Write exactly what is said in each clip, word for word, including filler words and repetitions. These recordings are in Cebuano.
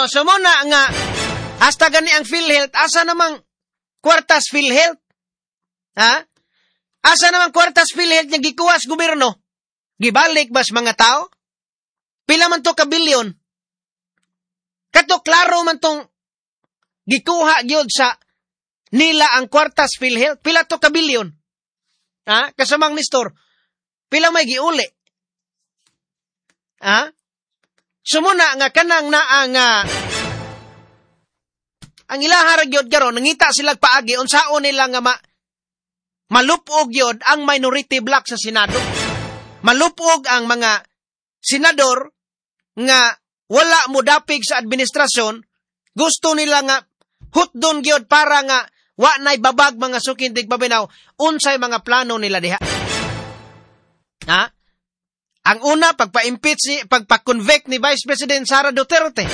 Oh, so mo na nga hasta gani ang PhilHealth, asa namang kwartas PhilHealth? Ha? Asa namang kwartas PhilHealth nga gikuha sa gobyerno? Gibalik bas mga tao? Pila man to ka bilyon? Kato klaro man tong gikuha gyud sa nila ang kwartas PhilHealth. Pila to ka bilyon? Ha? Kasamang Nestor, pila may giuli? Ha? Sumuna nga kanang naa nga ang ilaha ra gyud karon nangita sila paagi unsaon nila nga ma, malupog gyud ang minority bloc sa Senado. Malupog ang mga senador nga wala mo dapig sa administrasyon, gusto nila nga hutdon gyud para nga wa nay babag mga suking tigpaminaw unsay mga plano nila diha. Ha? Ang una pagpa-impeach ni pagpa-convict ni Vice President Sara Duterte.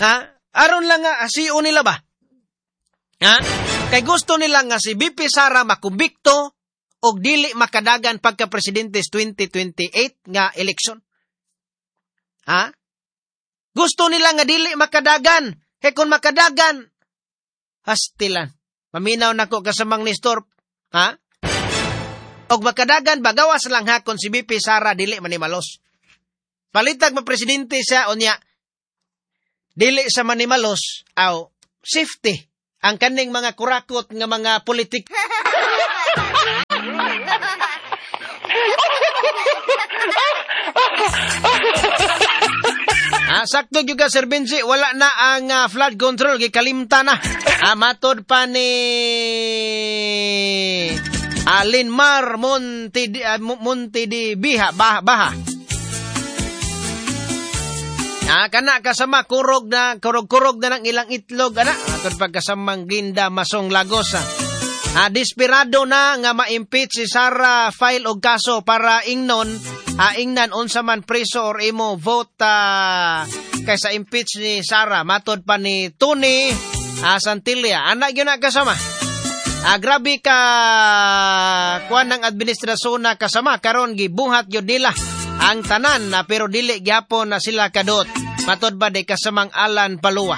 Ha? Aron lang nga asiyo nila ba? Ha? Kay gusto nila nga si V P Sara makumbikto og dili makadagan pagka presidente sa twenty twenty-eight nga election. Ha? Gusto nila nga dili makadagan. Kay kung makadagan, hastilan. Paminaw nako kasamang Nestor, ha? Og makadagan bagawas lang hakon si V P Sara dili manimalos. Palitag ma presidente siya unya dili sa manimalos aw safety ang kaning mga kurakot nga mga politik. Ah, sakto gyud ka Sir Benji, wala na ang uh, flood control, gikalimta na. Ah, matod pa ni Alinmar Monte di, uh, Monte di Biha, bah, Baha. Ah, kana kasama kurog na kurog-kurog na ng ilang itlog ana. Atod pagkasamang Ginda Masong Lagos. Ah, desperado na nga ma-impeach si Sara, file og kaso para ingnon, ah, ingnan unsa man preso or imo vote ah, kaysa impeach ni Sara. Matod pa ni Tony ah, Santilla. Ana gyud na kasama. Ah, grabe ka kuan ng administrasyon na kasama karon gibuhat gyud nila ang tanan na pero dili gyapon na sila kadot. Matod ba di kasamang Alan Palua.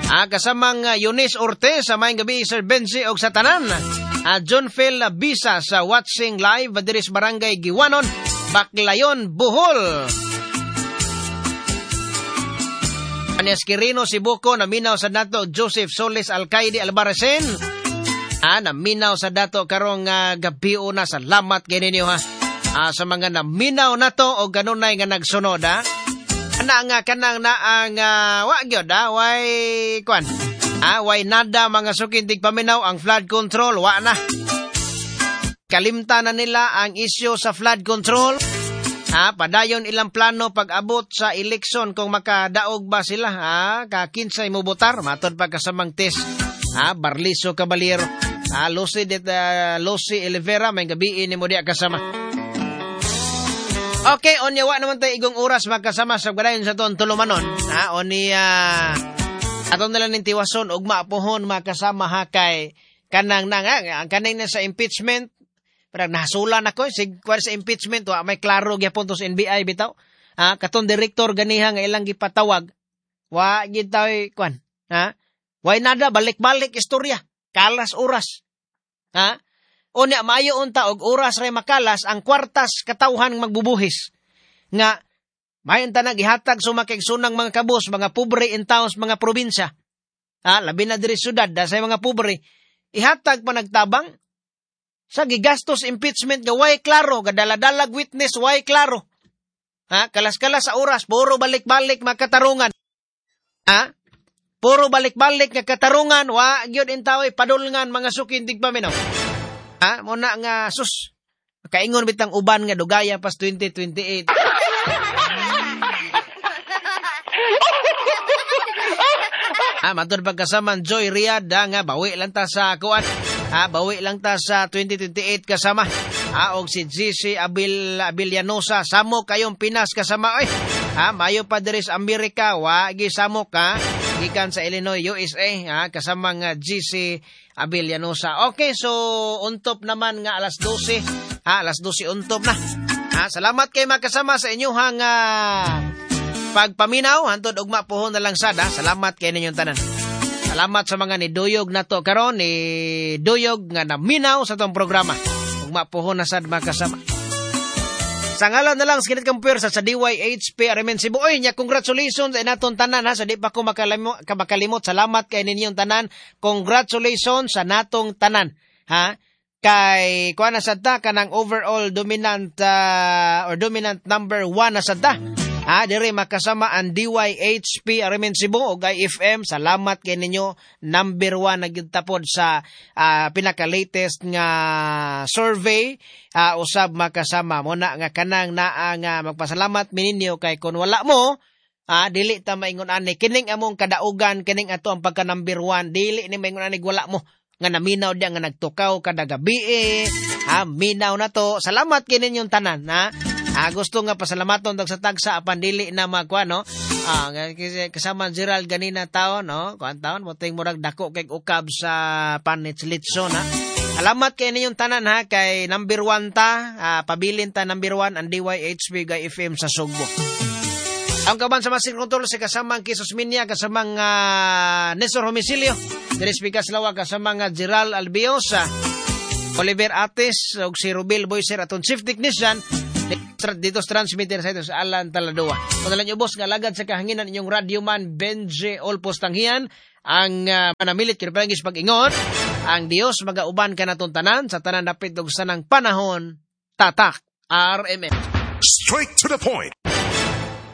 Ah, kasamang uh, Eunice Ortez sa maayong gabi Sir Benji og sa tanan. Ah, John Phil Bisa sa watching live diri sa Barangay Giwanon, Baclayon, Bohol. Anias Quirino Sibuco naminaw sa dato Joseph Solis Alcaide Albarracin. Ah, naminaw sa dato karong uh, gabi una, salamat kay ninyo ha. Ah, sa mga naminaw nato o ganunay nga nagsunod ha. Ana nga kanang naang uh, wa gyud ha, way kwan. Ah, way nada mga sukintig paminaw ang flood control wa na. Kalimta na nila ang isyu sa flood control. Ha, padayon ilang plano pag-abot sa eleksyon kung makadaog ba sila ha, ka kinsay mobotar matod pa kasamang test. Ha, Barliso Caballero. Ha, Lucy det uh, Lucy Olivera may gabi ni mo diya kasama. Okay, onya wa naman tayo igong oras magkasama sa gadayon sa ton tulumanon. Ha, onya aton na lang ning tiwason ugma pohon makasama ha kay kanang nang ang kaning na sa impeachment. Parang nahasulan ako sig kwar sa impeachment wa may klaro gyapon to sa N B I bitaw. Ha, katong direktor ganiha nga ilang gipatawag wa gid taoy kwan. Ha? Way nada balik-balik istorya, kalas oras. Ha? Unya maayo unta og oras ray makalas ang kwartas katawhan magbubuhis. Nga maayo unta naghihatag sumakigsunang mga kabus, mga pobre in towns, mga probinsya. Ha, labi na diri syudad da sa mga pobre. Ihatag pa nagtabang sa gigastos impeachment nga way klaro, gadala-dalag witness way klaro. Ha, kalas-kalas sa oras, puro balik-balik makatarungan. Ha? Puro balik-balik nga katarungan, wa gyud intaway padulngan mga sukindig paminaw. Ha, muna nga sus kaingon bitang uban nga dugaya pas twenty twenty-eight. Ha, matud pagkasaman Joy Riyad ha, nga bawi lang ta sa kuan. Ha, bawi lang ta sa twenty twenty-eight kasama. Ha, og si G C Abil Abilianosa samo kayong Pinas kasama oy. Ha, mayo pa diri sa Amerika wa gi samo ka gikan sa Illinois, U S A, ha, kasama nga G C Abilianosa. Okay, so untop naman nga alas dose. Ha, alas dose untop na. Ha, salamat kay makasama sa inyuhang uh, pagpaminaw hantod ugma pohon na lang sad ha. Salamat kay ninyong tanan. Salamat sa mga niduyog nato karon ni duyog nga naminaw sa atong programa. Ugma pohon na sad makasama. Sa ngalan na lang sa Kinit Kampuwersa sa D Y H P R M N Cebu. Oy, nya congratulations ay naton tanan ha. Sa di pa ko makalimo, makalimot. Salamat kay ninyong tanan. Congratulations sa natong tanan. Ha? Kay kuha na sad ta kanang overall dominant uh, or dominant number one na sad ta. Ha, dire makasama ang D Y H P R M N Cebu ug I F M. Salamat kay ninyo. Number one na gyud tapod sa uh, pinaka-latest nga survey uh, usab makasama. Mo na nga kanang naa nga magpasalamat mi ninyo kay kun wala mo, ah, dili ta maingon ani kining among kadaugan, kining ato ang pagka number one, dili ni maingon ani wala mo nga naminaw diya nga nagtukaw kada gabi eh. Ha, minaw na to. Salamat kay ninyong tanan, ha. Ah, gusto nga pasalamaton tag sa tagsa apan dili na magkuan, no. Ah, kasama Gerald ganina taon, no. Kuan taon mo ting murag dako kay ukab sa panits litson, ha. Salamat kay ninyong tanan ha kay number one ta, ah, pabilin ta number one ang D Y H B gay F M sa Sugbo. Ang kaban sa Master Control si kasamang Kisos Minya, kasamang uh, Nestor Homicilio, Diri Speaker Slawa, kasamang uh, Gerald Albiosa, Oliver Ates, ug si Rubil Boyser, atong chief technician, dito sa transmitter sa ito sa Alan Taladoa. Kung nalang ubos nga alagad sa kahanginan inyong radyo man Benji Olpos Tanghian ang uh, manamilit kini palangis pag-ingon ang Dios magauban kanaton tanan sa tanan dapit og sanang panahon. Tatak R M N. Straight to the point.